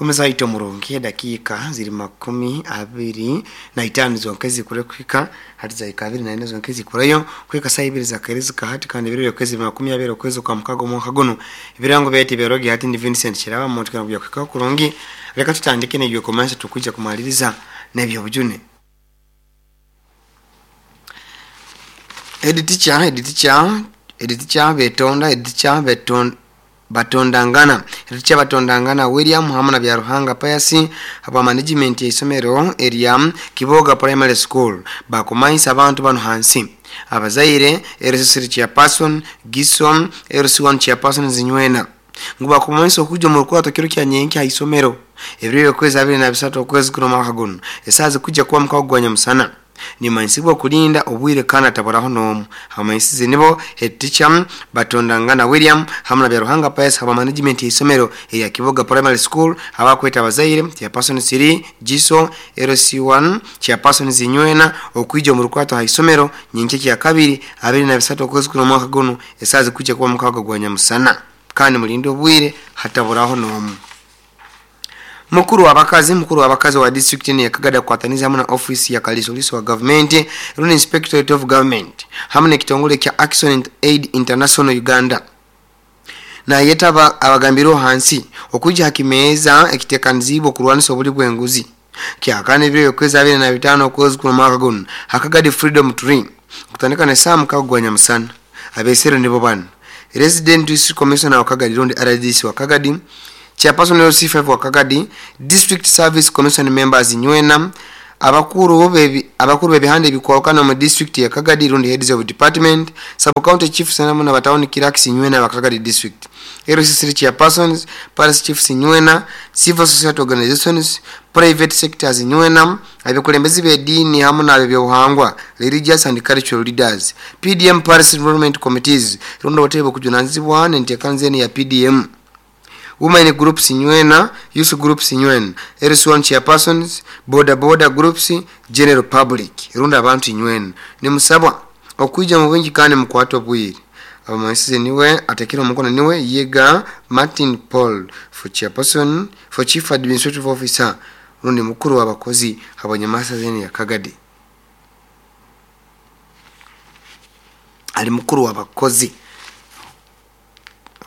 Omuzaito murungi edakiika ziri 25 zonka ezikure kuhika hati zahika 24 zonka ezikurayo kuhika saa ibiri zakaire hati kandi ebiro byokwezi 20 okwezi kwa mukaga omwaka guno ebirango byaitu ebyarogi hati ndi Vincent Kiraba muntu kana kuja kuhika kurungi. Leka tutandike n'ebyokumansa tukuja kumaliriza n'ebyobujune. Head teacher, head teacher betonda, head teacher betonda batondangana, head teacher batondangana William hamwe na Byaruhanga Pius aba management ya isomero erya Kiboga Primary School bakumanyisa abantu bano hansi abazaire LC3 chairperson Gison LC1 chairperson Zinywena ngu bakumanyisa okuja omu rukwato kiro kya nyenki ha isomero ebiro byokwezi 23 okwezi kuno mwaka guno esaaha zikujja kuba mukago gwa nyamusana. Nimanyisibwa kulinda obwire kandi ataburaho n'omu. Abamanyisize nibo head teacher batondangana William hamwe na Byaruhanga Pius aba management ya isomero erya Kiboga Primary School abakweta abazaire chairperson Siri Giso LC1 chairperson Zinywena okwija omu rukwato ha isomero nyenkya kya kabiri 23 okwezi kuno mwaka guno esaaha zikujja kuba mukago gwa nyamusana kandi mulinde obwire hataburaho n'omu. Mukuru wabakazi wa district ni yakagada kukwataniza hamwe na office ya kalisoliso wa government rundi inspectorate of government hamwe n'ekitongole kya Action Aid International Uganda na yetaba abagambiro hansi okuja hakimeza ekitekanizibwa okurwanisa obuli bw'enguzi kyakana ebiro byokwezi 25 okwezi kuno mwaka guno hakagadi Freedom Tree kutandika ne saa mukago gwa nyamusana. Abesero nibo bano Resident District Commissioner wa Kagadi rundi RDC wa Kagadi, Chairperson LC5 wa Kagadi, District Service Commission members Nywena, abakuru b'ebihanda ebikwawukana mu district ya Kagadi rundi heads of department, sub county chiefs na batawuni clerks Nywena wa Kagadi district, LC3 chairpersons, parish chiefs Nywena, civil society organizations, private sectors Nywena, abakulembeze b'eddiini hamwe n'ab'ebyobuhangwa, religious and cultural leaders, PDM parish enrollment committees rundi obutebe okujunanizibwa n'enteekaniza ya PDM, women groups Nywena, youth groups Nywena, LC1 chairpersons, border border groups, general public rundi abantu Nywena. Nimusabwa okuija mu bwingi kandi mukwate obwire. Abamanyisize niwe atekera omukono niwe Yega Martin Paul for chairperson for chief administrative officer rundi mukuru w'abakozi abanyamasa zene ya Kagadi. Ali mukuru w'abakozi.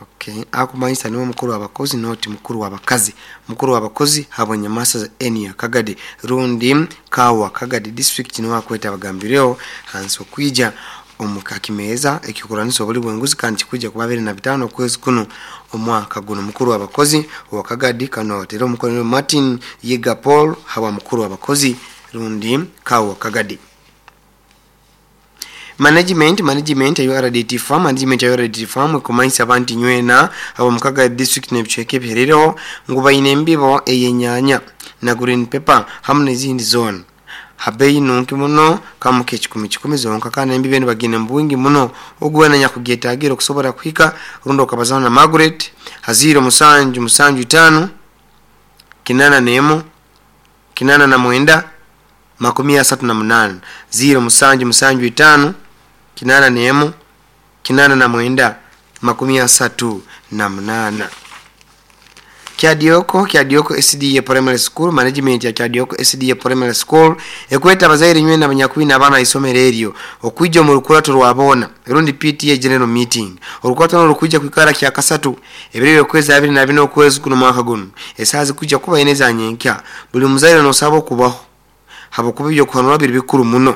Okay, akumanyisa niwe mukuru w'abakozi noti mukuru w'abakazi. Mukuru w'abakozi habonyamasa za eni ya Kagadi rundi kawa Kagadi district niwe akweta abagambireo hansi okwija omukakimeza ekikuranisa obuli bwenguzi kandi kikuja kuba 25 okwezi kuno omwaka guno. Mukuru w'abakozi wa Kagadi kano atera omukono Martin Yega Paul hawa mukuru w'abakozi rundi kawa Kagadi. Management ya URDT farm, management ya URDT farm ikumanyisa abantu Nywena abo mukaga district n'ebicweka ebiherereho ngu baine embibo eyenyanya na green pepper hamwe n'ezindi zone habeyi nunki muno kamuke 10 zonka kandi embibo eno bagine mu bwingi muno ogwana nyakugyetagira okusobola kuhika rundi okabazana na Margaret haziro 7 7 5 81 89 38 0 7 7 5 81 89 38. Kyadioko SDA Primary School, management ya Kyadioko SDA Primary School ekweta abazaire Nywena abanyakwina abaana isomero eryo okuija mu rukurato rwabona rundi PTA general meeting. Orukurato rukujja kwikara kya kasatu ebiro byokwezi 24 okwezi kuno mwaka guno esaaha zikujja kuba ine za nyenkya. Buli muzaire nosaba okubaho habokuba ebyokuhanura biri bikuru muno.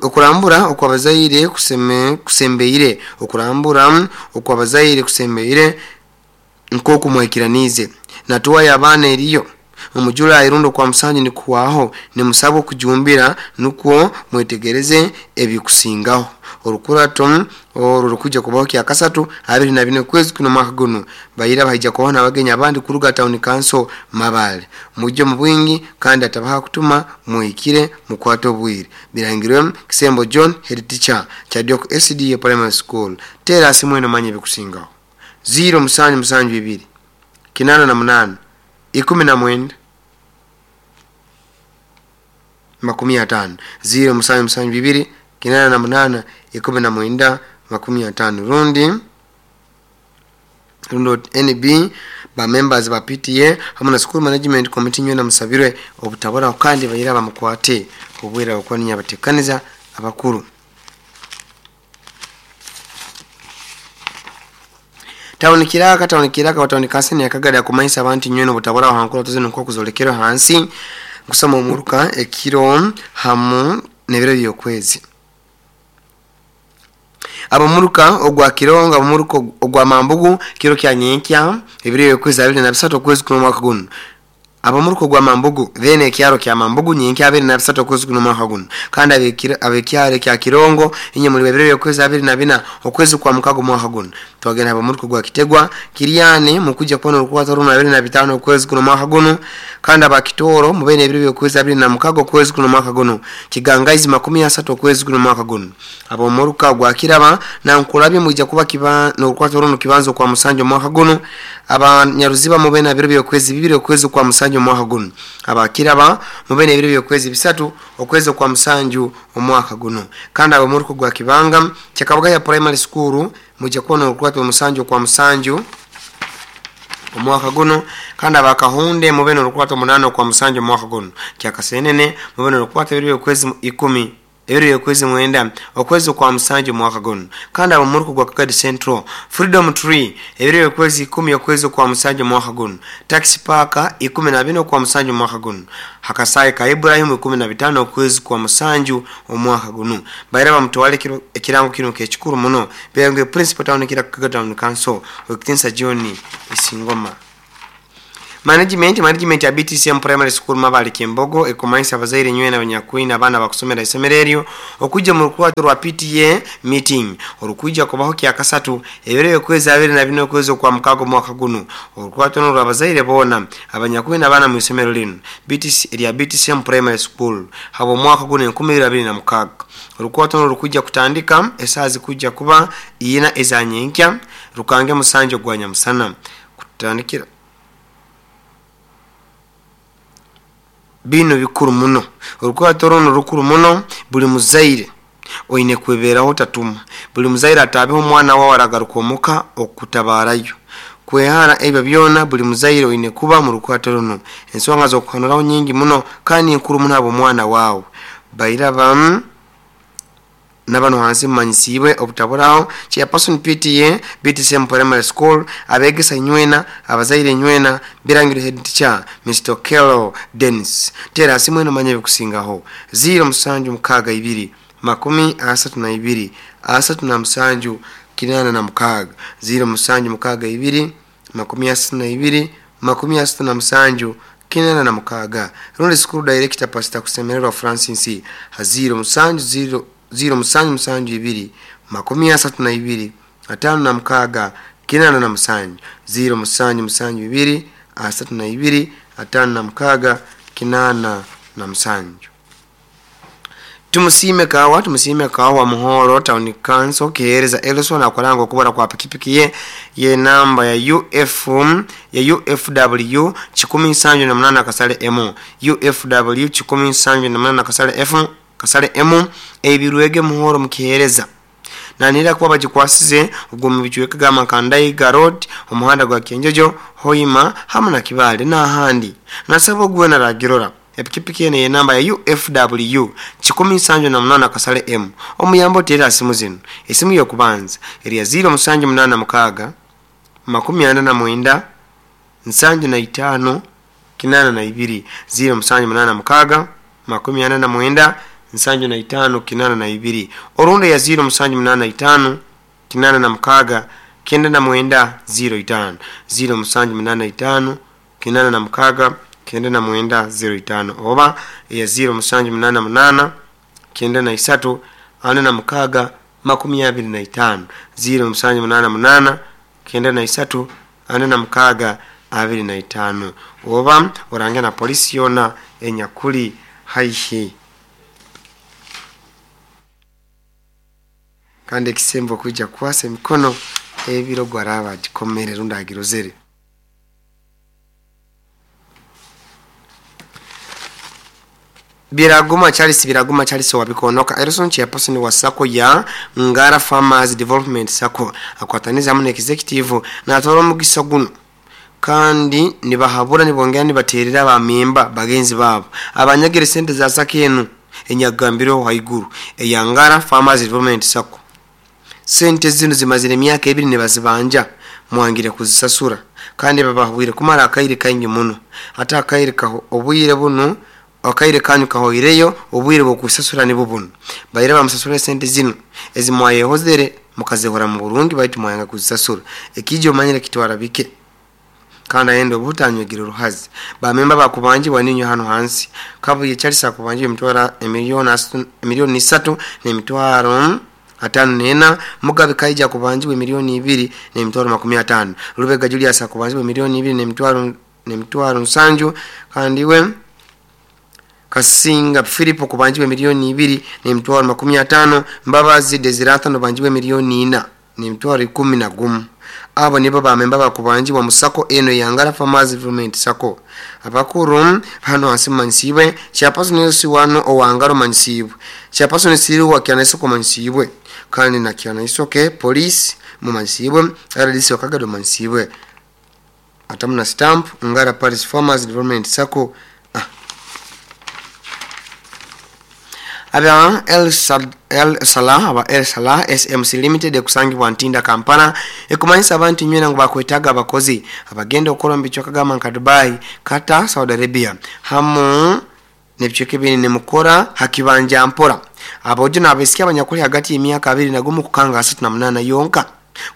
Okurambura okwabazaire kusembeire okurambura okwabazaire kusembeire nkoku mwekiranize natuwa abaana eriyo omujula irundo kwa musanju nikuwaho nimusaba okujumbira nukwo mwetegereze ebikusingaho. Orukurato orwo rukuja kubaho kya kasatu 24 kwezi kuno mwaka guno bayira bahija kuona abagenya abandi kuruga town council Mabale mujje mu bwingi kandi atabaha kutuma muikire mukwato obwire. Birangirwe Kisembo John head teacher Kyadioko SDA Primary School. Tera simweno manye bikusingaho 0 7 7 2 88 19 50 0 7 7 2 88 19 50 rundi Rundi NB ba members ba PTA hamu na school management committee nywena musabirwe obutaburaho kandi baira bamukwate obwira okuba ninyabatekaniza abakuru. Tawuni Kiraka, tawuni Kiraka, watawuni Kasini yakagada kumanyisa abantu nywena obutaburaho hankura tuzino nk'okuzolekero hansi kusoma omuruka ekiro hamu n'ebiro by'okwezi. Abamuruka ogwa Kirongo, abamuruka ogwa Mambugu kiro kya nyenkya ebiro by'okwezi 23 okwezi kuno omwaka guno. Abamuruka ogwa Mambugu then ekyaro kya Mambugu nyenkya 23 okwezi kuno omwaka guno. Kandi abekyaro kya Kirongo inye muri ebiro by'okwezi 24 okwezi kwa mukago omwaka guno. Twagenda abamuruka ogwa Kitegwa Kiriane mukujja kubona orukwata runo 25 okwezi kuno omwaka guno. Kandi abakitoro mubene ebiro by'okwezi 26 okwezi kuno omwaka guno. Kigangaizi 30 okwezi kuno omwaka guno. Abamuruka ogwa Kiraba na Nkulabye mujja kuba kiba n'orukwata runo kibanzo kwa musanju omwaka guno. Abanyaruziba mubene ebiro by'okwezi 2 okwezi kwa musanju omwaka guno. Abakiraba mubene ebiro by'okwezi 3 okwezi kwa musanju omwaka guno. Kandi abamuruka ogwa Kibanga Kyakabagaya Primary School mujja kubona orukwata omusanju kwa musanju omwaka guno. Kandi abakahunde mubene orukwata 8 kwa musanju omwaka guno. Kyakasenene mubene orukwata ebiro by'okwezi 10 ebiro by'okwezi 9 okwezi kwa musanju omwaka guno. Kandi abamuruka gwa Kagadi Central Freedom Tree ebiro by'okwezi 10 okwezi kwa musanju omwaka guno. Taxi Park 14 kwa musanju omwaka guno. Hakasai ka Ibrahim 15 okwezi kwa musanju omwaka guno. Baira bamutwale ekirango kino kekikuru muno. Byange Principal Town kira Kagadi Town Council Okitinsa John Isingoma. Management ya BTCM Primary School Mabali Kembogo ekumanisa abazaire nywena abanyakwina abaana bakusomera isomero eryo okujja mu rukwata rwa PTA meeting orukujja kubaho kya kasatu ebiro by'okwezi 24 okwezi kwa mukago mwaka guno. Orukwata n'olwa abazaire bona abanyakwina abaana mu isomero lino BTC erya BTCM Primary School habo mwaka guno 2026. Orukwata n'olukujja kutandika esaazi kujja kuba iyina ezanyenkya rukange musanjo gwa nyamusana kutandikira bino bikuru muno. Orukwata runo rukuru muno buli muzaire oine kweberaho tatuma buli muzaire atabeho omwana wawe aragaruka omuka okutabarayo kwehara ebyo byona. Buli muzaire oine kuba mu rukwata runo ensonga z'okuhanuraho nyingi muno kandi nkuru muno abo omwana wawe bairaba nabano hansi manyisibwe obutaburaho. Chairperson PTA BTCM Primary School abegesa nywena abazaire nywena birangiro head teacher Mr. Kello Dennis. Tera simu eno manye bikusingaho 0762 32 37 86 0762 32 37 86. Rundi school director Pastor Kusemererwa Francis 070 072 32 56 87 0772 32 56 87. Tumusime kawa Muhoro Town Council kihereza Elson akolanga okubara kwa pikipiki ye namba ya UF ya UFW 178 kasale M UFW 178 kasale F kasale M ebirwege Muhoro mukihereza nanira kuba bagikwasize ubwo mu bicuweka gama Kandaiga Road omuhanda gwa Kenjojo Hoima hamwe na Kibale n'ahandi. Nasaba ogwe na ragirora epikipiki ene ye namba ya UFW 178 kasale M omuyambo tera simu zino. Esimu yokubanza eri ya 0786 49 75 82 0786 49 75 82 orundi ya 0785 86 99 05 0785 96 99 05 oba ya 0788 93 46 25 0788 93 46 25 oba orange na polisi yona enyakuli haihi. Kandi ekisembo kuja kwasa emikono ebiro gwaraba gikomere rundagirozere. Biraguma Charles, Biraguma Charles wa Bikonoka, Erison chairperson wa SACCO ya Ngara Farmers Development SACCO, akwataniza hamwe na executive natwara omugisa guno kandi nibahabura, nibongera nibaterera abamemba bagenzi babo abanyagire sente za SACCO enu enyagambireho haiguru eya Ngara Farmers Development SACCO. Sente zino zimazire emyaka 2 nibazibanja, mwangire kuzisasura kandi babahwire kumara akaire kaingi muno. Ate akaire kaho obwire buno akaire kanyu kahoireyo, obwire bwokusasura nibwo buno. Baire bamusasura sente zino ezimwayehozere mukazihora mu burungi, baitu mwayanga kuzisasura. Ekijjo omanyire kitwara bike kandi ayenda obutanywegere ruhazi. Bamemba bakubanjibwa ninyo hano hansi. Kabuye Charles akubanjibwa emitwaro emiliyoni 3 n'emitwaro 54. Mugabe Kaija akubanjibwa emiliyoni 2 n'emitwaro 50. Rubega Julius akubanjibwa emiliyoni 2 n'emitwaro 7. Kandi we Kasinga Philip akubanjibwa emiliyoni 2 n'emitwaro 50. Mbabazi Desirata nobanjibwa emiliyoni 4 n'emitwaro 11. Abo nibo bamemba bakubanjibwa mu SACCO eno ya Ngara Farmers Development SACCO. Abakuru hano hasi manyisibwe chairperson yosi wano owangaro manyisibwe, chairperson siriwa kyanaisoko manyisibwe, kandi na kyanaisoke police mumanyisibwe, RDC wakagado manyisibwe, atamuna stamp Ngara Paris Farmers Development SACCO. Aba El Salah, aba El Salah SMC Limited ekusangibwa Ntinda Kampala, ekumanyisa abantu nywena ngu bakwetaaga abakozi abagenda okukora mu bicweka gamba nka Dubai, Qatar, Saudi Arabia hamu n'ebicweka ebindi nimukora hakibanja mpora. Abojo n'abaisiki abanyakuli hagati y'emyaka 21 kukanga 38 yonka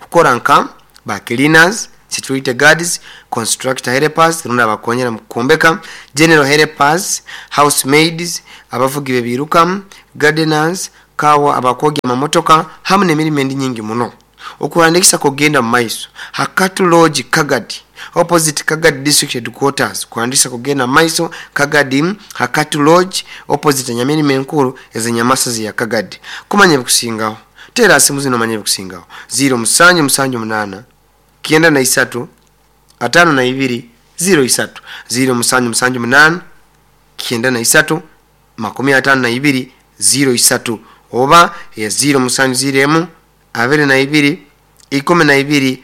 kukora nka ba cleaners, security guards, constructor helpers, rundi abakonyera mu kukombeka, general helpers, housemaids, abavugi bebiruka, gardeners, kawa abakogya amamotoka hamu n'emirimo endi nyingi muno. Okuhandikisa kugenda mu maiso Hakatu Lodge Kagadi, opposite Kagadi District Headquarters. Kuhandikisa kugenda mu maiso Kagadi, Hakatu Lodge, opposite nyamirimo enkuru ezenyamasazi ya Kagadi. Kumanya ebikusingaho tera simu zino, manya ebikusingaho 0 7 7 8 93 52 03 0 7 7 8 93 52 03 oba ya 0 7 0 22 12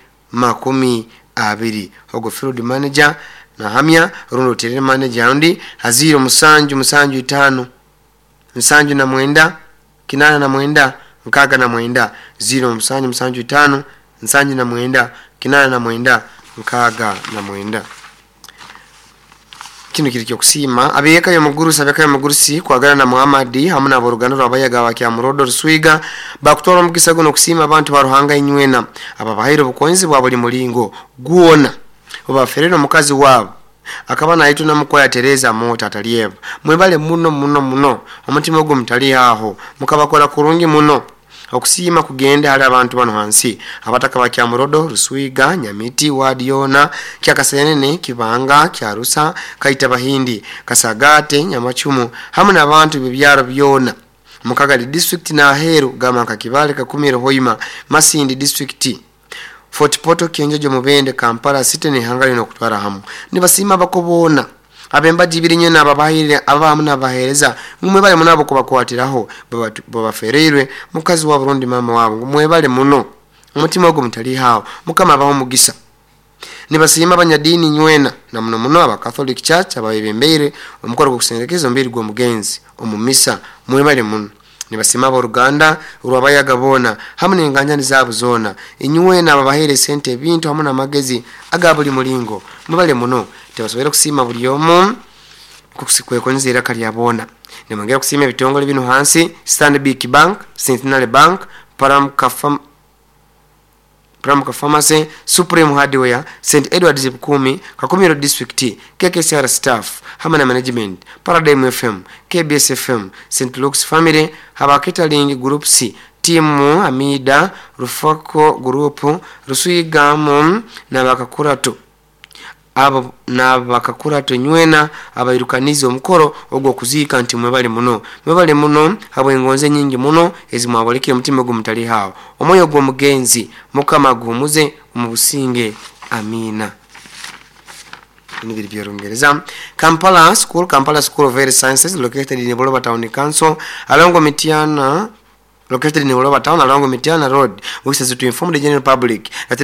20. Ogo field manager nahamya rundo terere manager undi 0 7 7 5 79 89 69 0 7 7 5 79 89 69. Kino kiri kyokusima abiyeka yo mugurusi, abiyeka yo mugurusi kwagana na Muhammad hamwe na boruganda rwabayaga wa Murodo Ruswiga bakutwara omugisa guno kusima abantu ba Ruhanga inywena ababahaire obukonzi bwa buli mulingo guona obaferera omukazi wabo akaba naitwe namukoya Teresa Mota atalieva. Mwebale muno muno muno, omutima ogwo mutali aho mukabakora kurungi muno. Okusima kugende hali abantu bano hansi abataka ba Kyamurodo Ruswiga Nyamiti Wadiona Kyakasenene Kibanga Kyarusa Kaita Bahindi Kasagate Nyamachumu hamwe n'abantu bebyaro byona Mukagali district na Aheru gama Kakibale Kakumiro Hoima Masindi district Fort Portal Kienjojo Mubende Kampala City ne hangari no kutwara hamu. Nibasima bakobona abembaji ibiri nyene ababahire abamu nabahereza mwebale munabo kubakwatiraho babafereirwe mukazi wa Burundi mama wabo mwebale muno omutima ogwo mutali hawo mukama abaho mugisa. Nibasima abanyadini nywena na muno muno aba Catholic Church abayebembeire omukoro gwo mbiri gwo mugenzi omumisa mwebale muno. Nibasima aboruganda urwabayaga bona hamwe n'enganjani zabo zona inywena ababahere sente ebintu hamwe n'amagezi aga buli mulingo mwebale muno. Tebasobora kusima buli omu kusikwekonza iraka lya bona. Nimwongera kusima ebitongole bino hansi Stanbic Bank, Centenary Bank, Paramka Pharmacy, Supreme Hardware, St Edwards Bukumi, Kakumiro District, KKCR Staff, hamwe na Management, Paradigm FM, KBS FM, St Luke's Family, Haba Catering Group C, Timu Amida, Rufako Group, Rusuigamu na Bakakurato. Abo na bakakurato nywena abairukanizi omukoro ogwo kuzika nti mwebale muno. Mwebale muno abo engonze nyingi muno ezimwabolekire omutima ogwo mutali hawo. Omwoyo gwo mugenzi mukama guhumuze omubusinge. Amina. Binu biri by'Orungereza. Kampala School, Kampala School of Health Sciences, located in Buloba Town Council, along Mityana, located in Buloba Town along Mityana Road, wishes to inform the general public that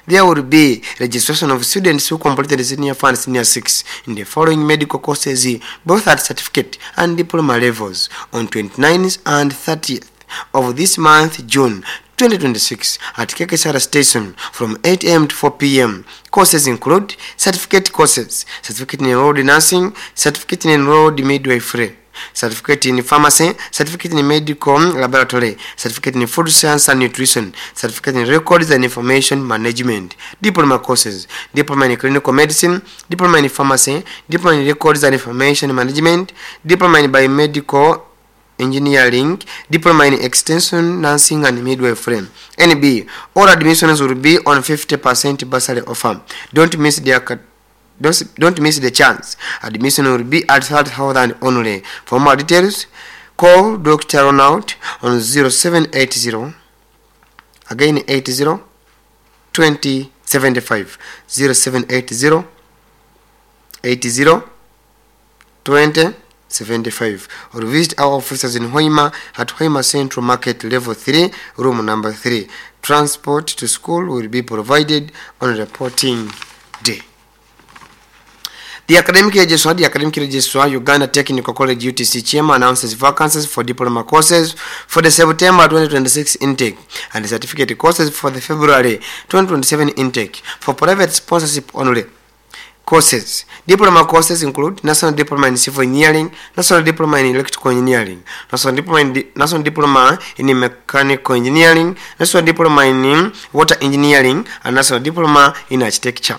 there will be registration of students who completed senior 4 and senior 6 in the following medical courses, both at certificate and diploma levels, on 29th and 30th of this month, June 2026, at KKSR Station from 8 a.m. to 4 p.m. Courses include certificate courses, certificate in enrolled nursing, certificate in enrolled midwifery, certificate in pharmacy, certificate in medical laboratory, certificate in food science and nutrition, certificate in records and information management, diploma courses, diploma in clinical medicine, diploma in pharmacy, diploma in records and information management, diploma in biomedical engineering, diploma in extension nursing and midwifery. NB, all admissions will be on 50% bursary offer. Don't miss the chance. Admission will be at 30,000 only. For more details, call Dr. Ronald on 0780, again 80 20 75, 0780 80 20 75, or visit our offices in Hoima at Hoima Central Market, Level 3, room number 3. Transport to school will be provided on reporting day. The academic registrar, Uganda Technical College UTC Kyema, announces vacancies for diploma courses for the September 2026 intake and the certificate courses for the February 2027 intake for private sponsorship only. Courses. Diploma courses include National Diploma in Civil Engineering, National Diploma in Electrical Engineering, National Diploma in Mechanical Engineering, National Diploma in Water Engineering, and National Diploma in Architecture.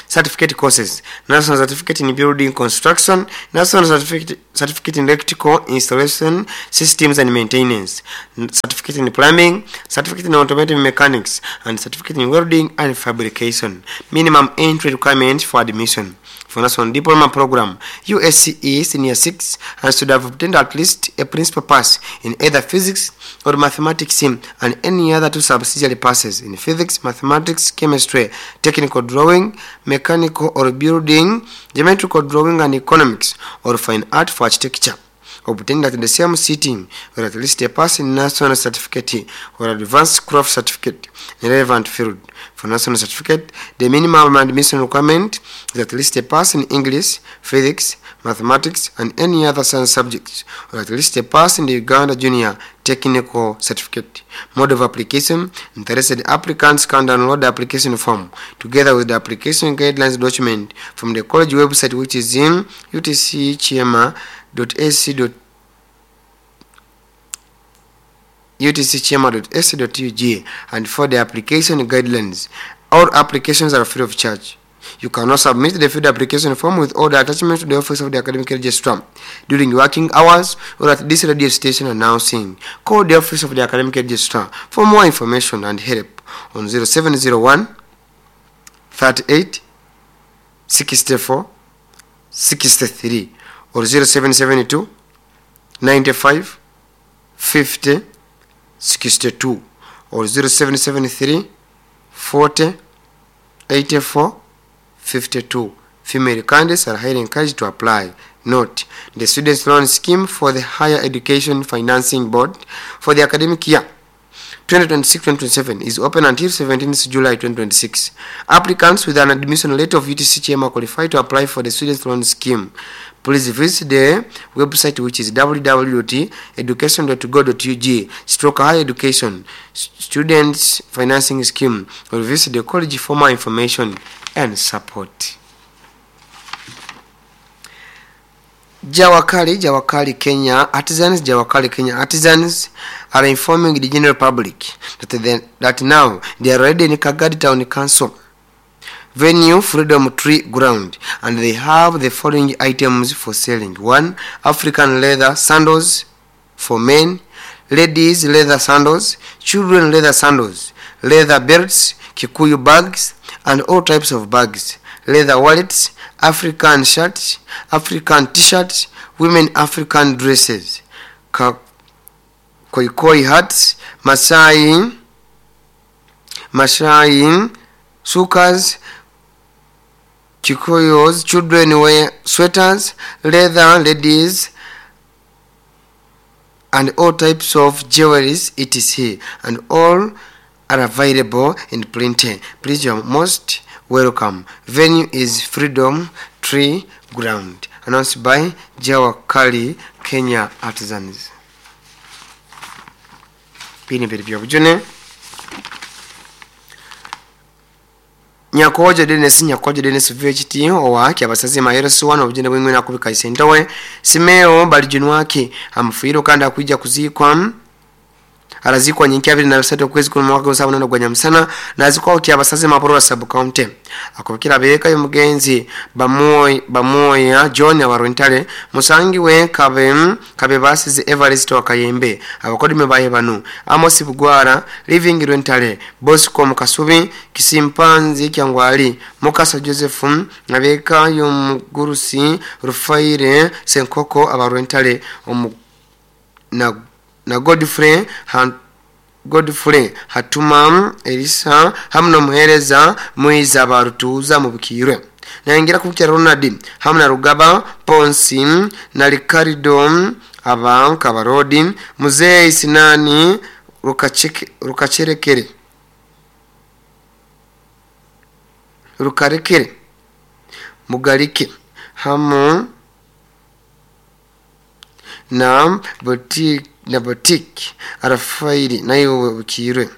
Certificate courses: National Certificate in Building Construction, National Certificate in Electrical Installation Systems and Maintenance, Certificate in Plumbing, Certificate in Automotive Mechanics, and Certificate in Welding and Fabrication. Minimum entry requirements for admission. For National Diploma Program, USCE Senior 6 and should have obtained at least a principal pass in either physics or mathematics and any other two subsidiary passes in physics, mathematics, chemistry, technical drawing, mechanical or building, geometrical drawing and economics, or fine art for architecture, obtained at the same sitting, or at least a pass in national certificate or advanced craft certificate in relevant field. For national certificate, the minimum admission requirement is at least a pass in English, physics, mathematics, and any other science subjects, or at least a pass in the Uganda Junior Technical Certificate. Mode of application: interested applicants can download the application form together with the application guidelines document from the college website, which is in utckyema.ac.utckyema.ac.ug, and for the application guidelines. All applications are free of charge. You can also submit the filled application form with all the attachments to the office of the academic registrar during working hours or at this radio station announcing. Call the office of the academic registrar for more information and help on 0701 38 64 63 or 0772 95 50 62 or 0773 40 84 52. Female candidates are highly encouraged to apply. Note, the Students Loan Scheme for the Higher Education Financing Board for the academic year 2026-2027 is open until 17th July 2026. Applicants with an admission letter of UTC Kyema qualify to apply for the Students Loan Scheme. Please visit the website, which is www.education.go.ug/higher education students financing scheme, or visit the college for more information and support. Jawakali, Jawakali Kenya Artisans, Jawakali Kenya Artisans are informing the general public that now they are already in Kagadi Town Council venue, Freedom Tree Ground, and they have the following items for selling. 1. African leather sandals for men, ladies leather sandals, children leather sandals, leather belts, Kikuyu bags, and all types of bags, leather wallets, African shirts, African t-shirts, women African dresses, koi hats, Masai sukas. Kikuyos, children wear sweaters, leather, ladies, and all types of jewelries, etc. And all are available in plenty. Please, you are most welcome. Venue is Freedom Tree Ground. Announced by Jawa Kali Kenya Artisans. Bini biri byobujune. Nyakojo Dennis VHT owa kyabasazi mayero suwana obujune bwingwe nakubika isentowe Simeo balijunwaki amfuiro kandi akuija kuzikwa arazikwa nyinki 23 kwezi kuno mwaka wa 7 gwa Nyamusana na azikwa kyabasazi maporo sub county akubikira beka y'omugenzi bamoya John abarontale musangiwe kabe basize Everest wa Kayembe abakodime baye banu Amos Bugwara Living Rentale Bosco Mukasubi Kisimpanzi Kyangwali Mukasa Joseph nabeka y'omugurusi Rufaire Senkoko abarontale na Godfrey Hatuma Elisa hamno muhereza mwiza barutuza mu bukirwe naingira kubukira Ronald hamna Rugaba Ponsi na Ricardo abanka barodi Muzee Sinani rukacherekere rukarekere Mugarike hamu na boutique na boutique arafairi nayo bukirwe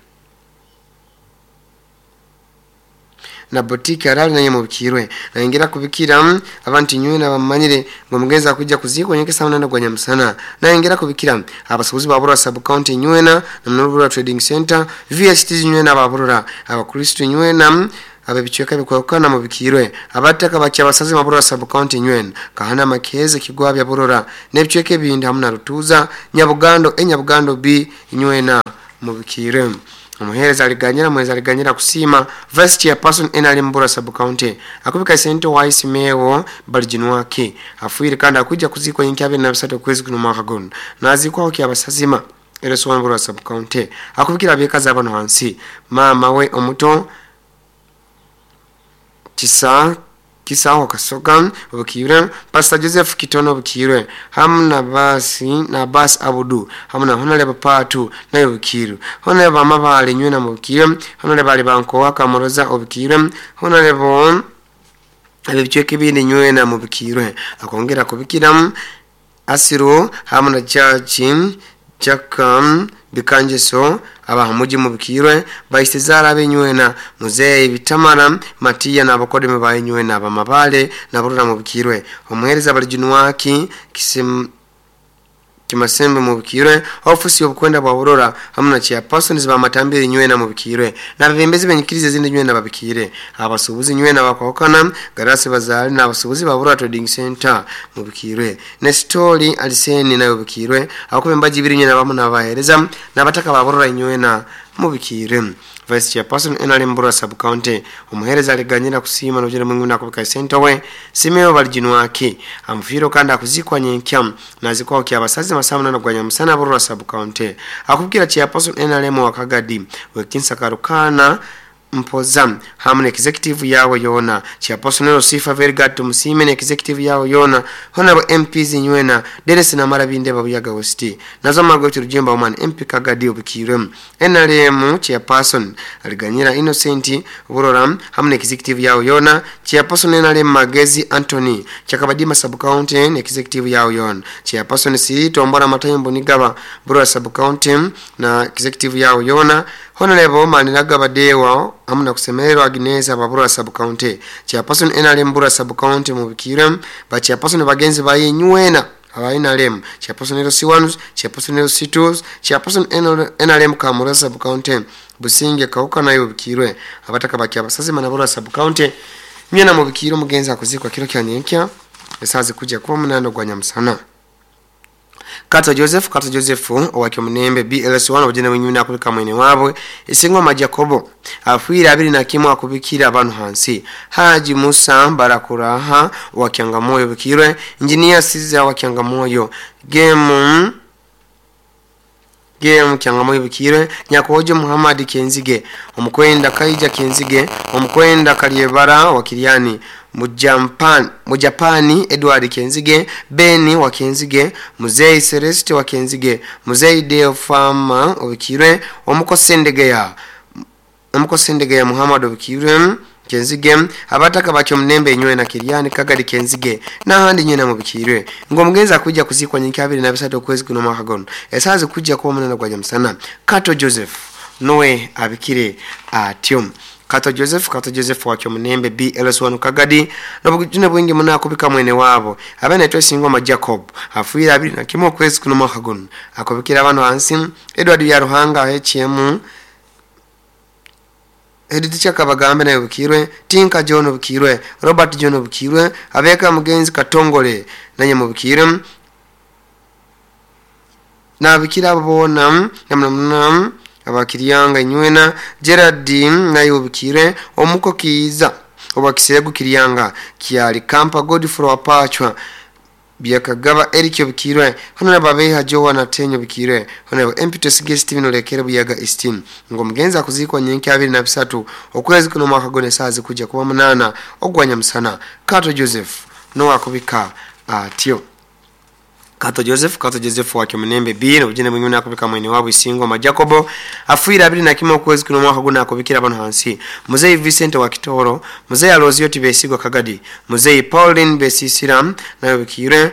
na boutique arali nayo mubukirwe naingira kubikira abantu nywe nabamanyire ngo mugenza kujja kuzikwa nyeke sauna na gwa Nyamusana naingira kubikira abasubuzi babura sub county nywena na Mnurura Trading Center VST nywena baburura abakristo nywena abebichweka bikwakana mubikirwe abataka bakyabasazi mabura sub county nywena kahana makeze kigwa bya burora nebichweke bindi hamna rutuza Nyabugando Nyabugando B nywena mubikirwe omuhereza aliganyira mweza aliganyira kusima vice chairperson enali mbura sub county akubika sente wa Isimeo balijinwake afuire kandi akuja kuzikwa nyinki 23 kwezi kuno mwaka gono nazikwa kyabasazima ereso mbura sub county akubikira bekaza abantu hansi mama we omuto Kisaho Kasoga obukirwe Pastor Joseph Kitono obukirwe hamna basi na bas Abudu hamna honale patu nayo obukirwe honale bamabale nywena mubukirwe honale bali banko wakamuroza obukirwe honale bo abebichweke bindi nywena mubukirwe akongera kubikira Asiro hamna Jaji Jakam bikanjeso abahamuji mubikirwe baisezara benywena Muzee Bitamara Matiya n'abakodeme bayenywena abamabale naburura mubikirwe omuhereza balijunwaki kimasembe mubikirwe ofisi y'obukwenda bwa burora hamna chairpersons ba matambire nywena mubikirwe nabebembezi benyikirize zindi nywena babikire abasubuzi nywena bakwakana garasi bazali n'abasubuzi ba Burora Trading Center mubikirwe Nestori Aliseni nayo bikirwe akubembaji biri nywena bamu nabahereza nabataka ba Burora nywena mubikire Vice Chairperson enali Mbura sub county omuhereza aliganyira kusima n'ojera mungu nakubika center we Simeo balijinwaki amfiro kandi akuzikwa nyenkya nazikwa kyabasazi masamuna na gwa Nyamusana Burora sub county akubwira Chairperson NRM wakagadi wekinsa karukana mpoza hamne executive yawe yona Chairperson Rosifa Vergat Musime executive yawe yona honorable MPs nywena Dennis na Marabinde babuyaga West nazo magoto rujemba woman MP Kagadi obukirwe NRM Chairperson aliganyira Innocent Burora hamne executive yawe yona Chairperson NRM Magezi Anthony Chakabadima sub county executive yawe yona Chairperson Sirito Mbora Matayombo Nigaba Burora sub county na executive yawe yona Honorable Maniraga Badewa amuna kusemererwa Agnes ababura sub county Chairperson NRM Mbura sub county mubikire ba Chairperson bagenzi baye nywena aba NRM Chairperson LC1 Chairperson LC2 Chairperson NRM Kamura sub county Businge Kauka nayo bikirwe abataka bakyabasazi manabura sub county nywena mubikire mugenzi akuzikwa kiro kya nyenkya esazi kuja kuba munando gwa Nyamusana Kata Joseph owakyo munembe BLS1 obujene bwenyuna akubika mwene wabwe Isingoma Jacobo afuira 21 akubikira abantu hansi Haji Musa Barakuraha wakyangamoyo bikirwe Engineer Siza wakyangamoyo Gemu Kyangamoyo bikirwe Nyakojo Muhammad Kenzige omukwenda Kaija Kenzige omukwenda Kalyebara wakiriani Mujapani Edward Kenzige, Beni wa Kenzige, Muzei Celeste wa Kenzige, Muzei Deo Fama obikirwe, Omukosendegeya Muhammad obikirwe Kenzige, abataka bakyo Munembe inywena Kiryani Kagadi Kenzige n'ahandi nywena mubikirwe. Ng'omugenzi akujja kuzikwa nyinkya 23 okwezi kuno mwaka gono esaazi kujja kuba 8 gwa nyamusana. Kato Joseph nowe abikire atyo. Kato Joseph wakyo Munembe BLS1 Kagadi n'obujune bwingi muna akubika mwene wabo abene twesingoma Jacob afuira 21 okwezi kuno mwaka gono akubikira abantu hansi Edward Byaruhanga HM Edith Kabagambe naye bukirwe, Tinka John bukirwe, Robert John bukirwe, abeka mugenzi Katongole nanye mubikirwe, nabikira bona namna abakiryanga inywena Gerard naye bukirwe, omuko kiiza obakisegu kiryanga kyali Kampa Godfrey wapachwa byakagaba Eric obikirwe, honorable Abeha Joana Tenyo bikirwe, honorable Impetus Guest Steven Olekere Buyaga Esteem. Ng'omugenzi akuzikwa nyenkya 23 okwezi kuno mwaka gone saazi kujja kuba 8 ogwanya musana. Kato Joseph no akubika atyo. Kato Joseph wakyo Munembe B n'obujune bwingi akubika mwene wabo Isingoma Jacobo afuira 21 okwezi kuno mwaka gone akubikira bano hansi Muzei Vincent wa Kitoro, Muzei Alozio Tibesigwa Kagadi, Muzei Pauline Besisira nayo bikire,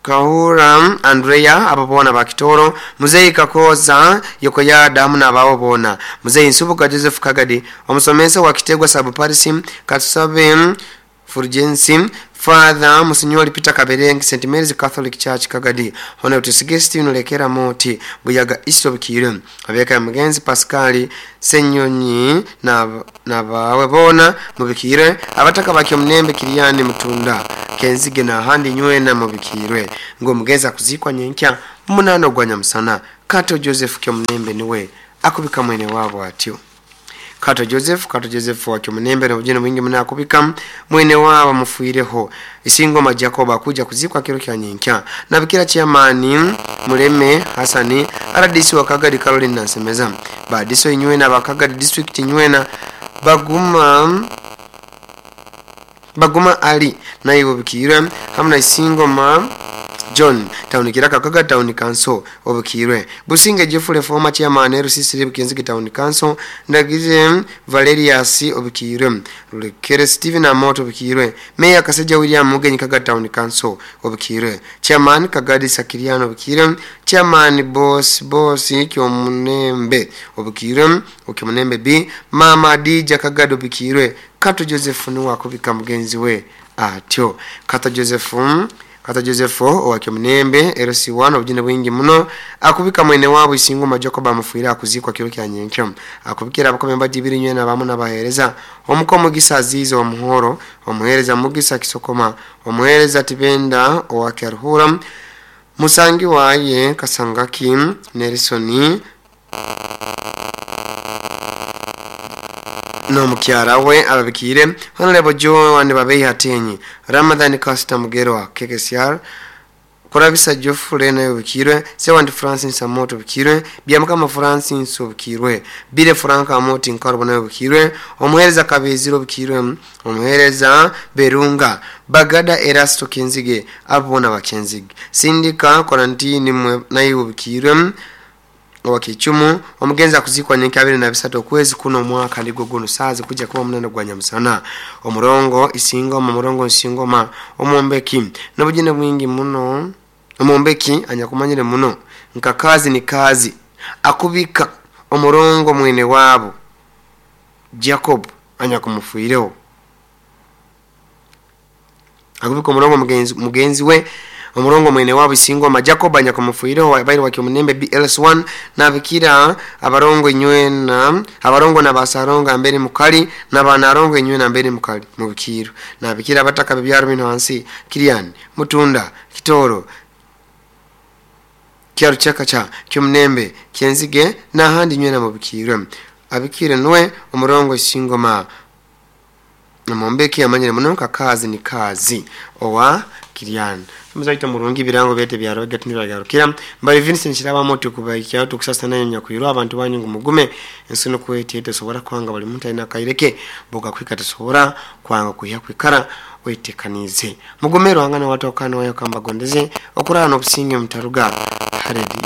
Kahura Andrea ababona ba Kitoro, Muzei Kakoza Yokoya Damu na bawo bona, Muzei Nsubuka Joseph Kagadi, omusomesa wa Kitegwa Sub Paris Katusabe Fulgensi, Father Monsignor Peter Kaberenge St Mary's Catholic Church Kagadi, Honorable Suggestion Lekera Moti Buyaga East obikire, abeka mugenzi Pascal Senyonyi na bawe bona mubikire, abataka bakyo Munembe Kiryani Mutunda Kenzige na handi nywena mubikirwe. Ngo mugenzi akuzikwa nyenkya 8 gwa nyamusana. Kato Joseph kyo Munembe niwe akubika mwene wabo atyo. Kato Joseph wakyo Munembe n'obujune bwingi muna akubika mwene wabo mufuireho Isingoma Jacob akuja kuzikwa kiro kya nyenkya. Nabikira chairman Muleme Hasani RDC wa Kagadi Caroline Nansemeza, Badiso inywena bakagadi district inywena Baguma Ali naye obikirwe, hamwe na Isingoma John Town Kiraka Kaga Town Council obukirwe, Businge Jeffrey former chairman RCC Kenzige Town Council, Ndagize Valerius obukirwe, Lukere Steven Amoto obukirwe, Mayor Kaseja William Mugenyi Kaga Town Council obukirwe, Chairman Kagadi Sakiriano obukirwe, Chairman Boss Kyomunembe obukirwe, Okyomunembe B Mama Dija Kagadi obukirwe. Kato Joseph ni wakubika mugenzi we atyo. Kato Joseph owakyo Munembe LC1 obujune bwingi muno akubika mwene wabo Isingoma Jacob amufuira akuzikwa kiro kya nyenkyo. Akubikira abakombe bajibiri nywena bamu nabahereza omuko Mugisa Azizo omuhoro, omuhereza Mugisa Kisokoma, omuhereza Tibenda owakyaruhura, Musangi waye Kasangaki Nelson no mukyara we ababikire, Honorable Joan Babeyi Hatenyi, Ramadhan Costa Mugerwa KKCR, Kurabisa Geoffrey nayo bikirwe, Sewandi Francis Amoto bikirwe, Byamukama Francis obikirwe, Bire Frank Amoti Nkarubo nayo bikirwe, Omuhereza Kabeziro bikirwe, Omuhereza Berunga, Bagada Erasto Kenzige abona bakenzige, Sindika Quarantine nayo bikirwe wakichumu. Omugenzi akuzikwa nyenkya 23 okwezi kuno mwaka ndigwo guno saazi kujja kuba 8 gwa nyamusana. Omurongo Isingoma Murongo Isingoma omumbeki n'obujune bwingi muno omumbeki anyakumanyire muno nka kazi ni kazi akubika omurongo mwene wabo Jacob anyakumufuireho akubika omurongo mugenzi we omurongo mwene wabo Isingoma Jacob anyakumufuireho bairi wakyo Munembe BLS1 nabikira abarongo inywena abarongo nabasaronga mbere mukali nabanarongo inywena mbere mukali mubikiro nabikira abataka bibyaro bino hansi Kiriani Mutunda Kitoro Kyaruchaka cha Kyomunembe Kenzige n'ahandi nywena mubikiro abikire nwe omurongo Isingoma namombeki amanyire muno kazi ni kazi owa Kirian muzaito murungi birango byete byaroga tiniragarukira mbali Vincent Kiraba tukubaikya tukusasa nayo nyakwirwa abantu banyu ngu mugume ensi nukwete tesobora kwanga bali muntu alina kaireke boga kwika tesobora kwanga kuhya kwikara wetekanize mugume ruhanga na watu wakano wayo kamba gondeze okurana n'obusinge mutaruga haredi.